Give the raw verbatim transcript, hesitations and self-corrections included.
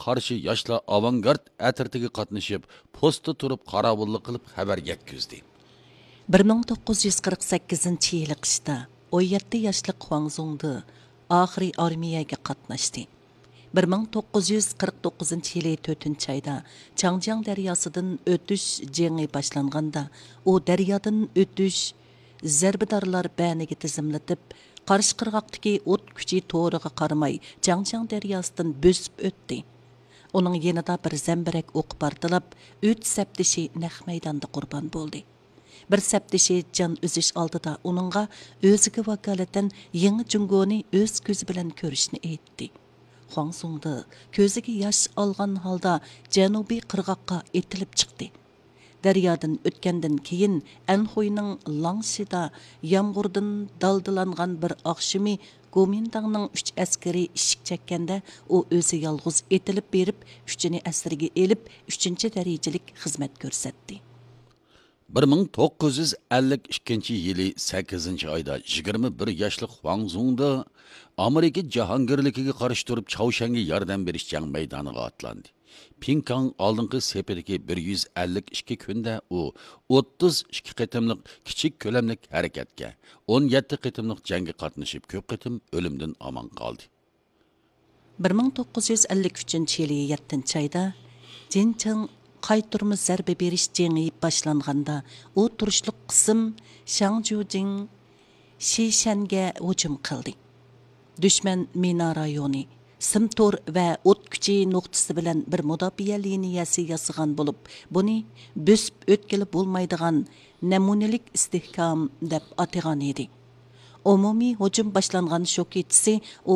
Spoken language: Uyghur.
قارشى ياشلار ئاۋانگارد ئەترىتىگە قاتنىشىپ، پوستتا تۇرۇپ قاراۋۇللۇق قىلىپ خەۋەر يەتكۈزدى. بىر مىڭ توققۇز يۈز قىرىق سەككىزىنچى يىلى قىشتا ئون يەتتە ياشلىق خۇاڭ زۇڭدې ئاخىرى ئارمىيەگە قاتناشتى. بىر مىڭ توققۇز يۈز قىرىق توققۇزىنچى يىلى تۆتىنچى ئايدا چاڭجياڭ دەرياسىدىن ئۆتۈش جېڭى باشلانغاندا، ئۇ دەريادىن ئۆتۈش زەربىدارلار بەنىگە تىزىملىتىپ، قارشى قىرغاقتىكى ئوت كۈچى تورىغا قارىماي، چاڭجياڭ دەرياسىدىن بۆسۈپ ئۆتتى. ئۇنىڭ يېنىدا بىر زەمبىرەك ئوقى پارتلاپ، ئۈچ سەپدىشى نەق مەيداندا قۇربان بولدى. بىر سەپدىشى جان ئۈزۈش ئالدىدا ئۇنىڭغا ئۆزىگە ۋاكالىتەن يېڭى جۇڭگونى ئۆز كۆزى بىلەن كۆرۈشنى ئېيتتى. خۇاڭ زۇڭدې كۆزىگە ياش ئالغان ھالدا جەنۇبىي قىرغاققا ئېتىلىپ چىقتى. دەريادىن ئۆتكەندىن كېيىن، ئەنخۇينىڭ لاڭشىدا يامغۇردىن دالدىلانغان بىر ئاخشىمى گومىنداڭنىڭ ئۈچ ئەسكىرى ئىشىك چەككەندە، ئۇ ئۆزى يالغۇز ئېتىلىپ بېرىپ، ئۈچىنى ئەسىرگە ئېلىپ، ئۈچىنچى دەرىجىلىك خىزمەت كۆرسەتتى. بىر مىڭ توققۇز يۈز ئەللىك ئىككىنچى يىلى سەككىزىنچى ئايدا يىگىرمە بىر ياشلىق خۇاڭ زۇڭدې ئامېرىكا جاھانگىرلىكىگە قارشى تۇرۇپ، چاۋشيەنگە ياردەم بېرىش جەڭ مەيدانىغا ئاتلاندى. پىڭكاڭ ئالدىنقى سېپىدىكى بىر يۈز ئەللىك ئىككى كۈندە ئۇ ئوتتۇز ئىككى قېتىملىق كىچىك كۆلەملىك ھەرىكەتكە، ئون يەتتە قېتىملىق جەڭگە قاتنىشىپ، كۆپ قېتىم ئۆلۈمدىن ئامان قالدى. بىر مىڭ توققۇز يۈز ئەللىك ئۈچىنچى يىلى يەتتىنچى ئايدا جىنچىڭ قايتۇرما زەربە بېرىش جېڭى باشلانغاندا، ئۇ تۇرۇشلۇق قىسىم شاڭجۇجىڭ شىشەنگە ھۇجۇم قىلدى. دۈشمەن مىنا رايونى، سىم تور ۋە ئوت كۈچى نۇقتىسى بىلەن بىر مۇداپىئە لىنىيەسى ياسىغان بولۇپ، بۇنى بۆسۈپ ئۆتكىلى بولمايدىغان نەمۇنىلىك ئىستىھكام دەپ ئاتىغان ئىدى. ئومۇمىي ھۇجۇم باشلانغان شۇ كېچىسى ئۇ